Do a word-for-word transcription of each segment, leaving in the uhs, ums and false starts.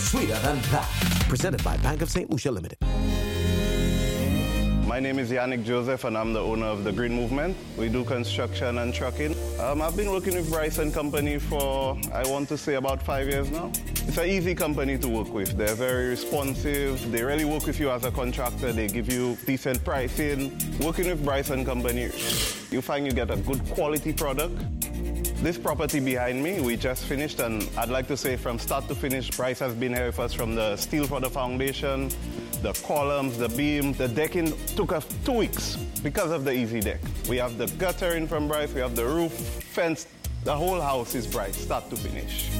Sweeter than that. Presented by Bank of Saint Lucia Limited. My name is Yannick Joseph and I'm the owner of the Green Movement. We do construction and trucking. Um, I've been working with Bryce and Company for, I want to say, about five years now. It's an easy company to work with. They're very responsive. They really work with you as a contractor. They give you decent pricing. Working with Bryce and Company, you find you get a good quality product. This property behind me, we just finished, and I'd like to say from start to finish, Bryce has been here with us from the steel for the foundation, the columns, the beam, the decking took us two weeks because of the easy deck. We have the guttering from Bryce, we have the roof, fence, the whole house is Bryce, start to finish.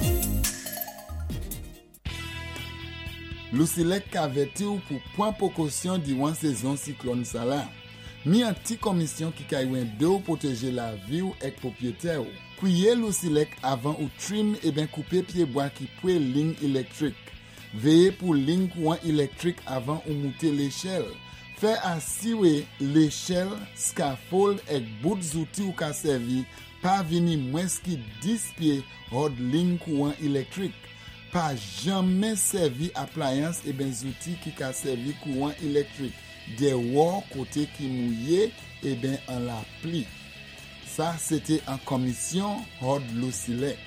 Lusilek ka avèti ou pou pwan pwékosyon diwan sézon siklòn sa la. Mi an ti komisyon ki ka édé ou pwotéjé lavi ou èk pwopwété ou. Kwiyé Lusilek avan ou trim eben koupé pyébwa ki pwé lign élektwik. Véyé pou lign kouwan élektwik avan ou mouté léchèl. Fè asiwé léchèl, scaffold èk bout zouti ou ka sèvi pa vini mwens ki dis pyé hòd lign kouwan élektwik. Pa janmen sèvi aplayans eben zouti ki ka sèvi kouwan élektwik. Déwò koté ki mouyé eben an lapli. Sa, sété an komisyon hòd Lusilek.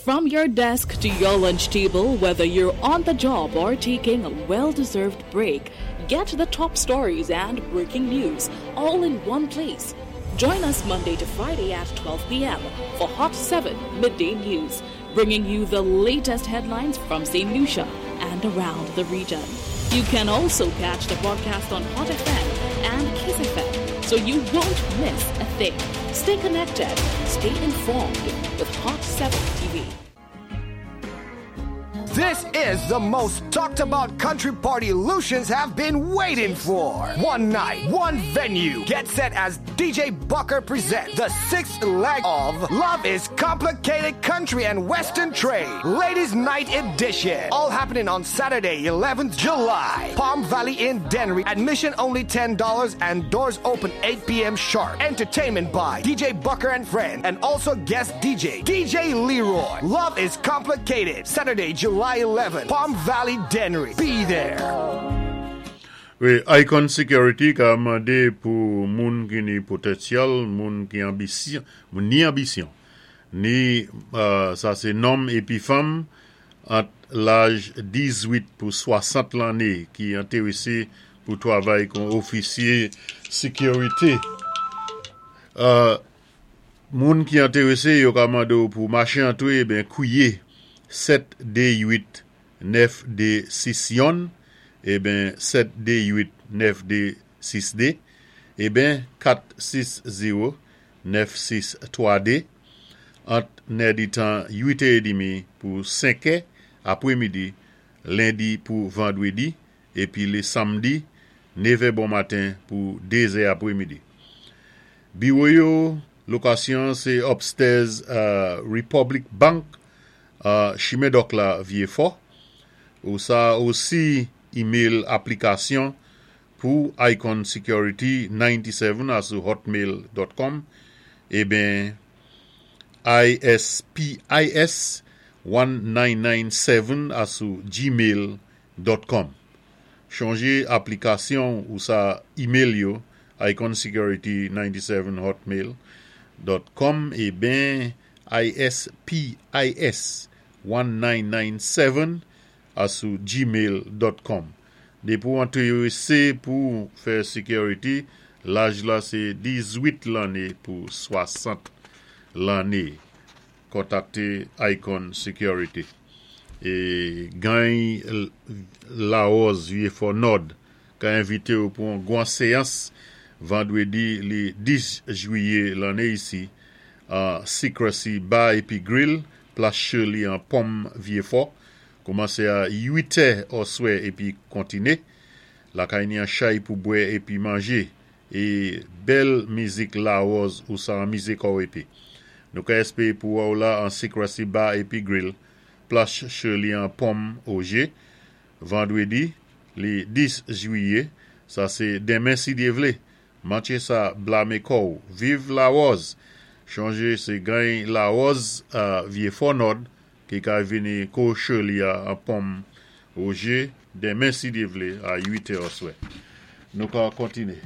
From your desk to your lunch table, whether you're on the job or taking a well deserved break, get the top stories and breaking news all in one place. Join us Monday to Friday at twelve p m for Hot seven Midday News, bringing you the latest headlines from Saint Lucia and around the region. You can also catch the broadcast on Hot F M and Kiss F M, so you won't miss a thing. Stay connected, stay informed with Hot seven T V. This is the most talked about country party Lucians have been waiting for. One night, one venue. Get set as D J Bucker presents the sixth leg of Love is Complicated Country and Western Trade, Ladies Night Edition. All happening on Saturday, eleventh July. Palm Valley in Dennery. Admission only ten dollars and doors open eight p m sharp. Entertainment by D J Bucker and Friend and also guest D J, D J Leroy. Love is Complicated. Saturday, July eleventh, Palm Valley, Dennery. Be there. Wi, Icon Security ka mandé pou moun ki ni potansyèl, moun ki anbisyon, moun ni anbisyon, ni euh, sa sé nonm épi fanm ant laj diz-wit pou swasant lanné ki entéwésé pou twavay kon ofisyé sékirité. Euh, moun ki entéwésé yo ka mandé ou pou maché antwé ben kwiyé sèt dé uit nèf dé sis youn eh ben sèt dé uit nèf dé sis dé eh ben kat sis zewo nèf sis twa dé ant nè-di-tan uit è dmi pou senk è apwémidi lendi pou vandwédi épi lé samdi nèv è bon maten pou dé è apwémidi. Biwo yo, lokasyon sé upstairs uh, Republic Bank, uh, Chimen Dòk la, Vyéfò. Ou sa osi email aplikasyon pou Icon Security nannti-sèt asou hotmail dot com eh ben I S P I S mil nèf san nannti-sèt asou gmail dot com. Chonjé aplikasyon ou sa email yo Icon Security nannti-sèt hotmail dot com eh ben I S P I S mil nèf san nannti-sèt asou gmail dot com. Dépi ou entéwésé pou fè security, laj la sé diz-wit lanné pou swasant lanné. Kontakté Icon Security. É gany Larose Vyéfò Nòd ka envité ou pou an gwan séyans vandwédi lé dis jwiyé lanné isi a Secrecy Bar épi Grill, Plas Shirley an Pom Vyéfò. Koumansé a uit è oswè épi kontiné. Lakay ni an chay pou bwè épi manjé. É bèl mizik Larose ou sa an mizik ou épi. Nou ka èspéwé pou wè ou la an Secrecy Bar épi Grill, Plas Shirley an Pom Ogé, vandwédi, lé dis jwiyé, sa sé denmen si Dyé vlé. Manché sa blamé kò'w. Viv Larose! Chonjé sé gany Larose uh, Vyéfò Nòd. Ki ka vini ko Shirley a, a Pom Roger, denmen si Dye vlé a uit è aswè. Nou ka kontiné.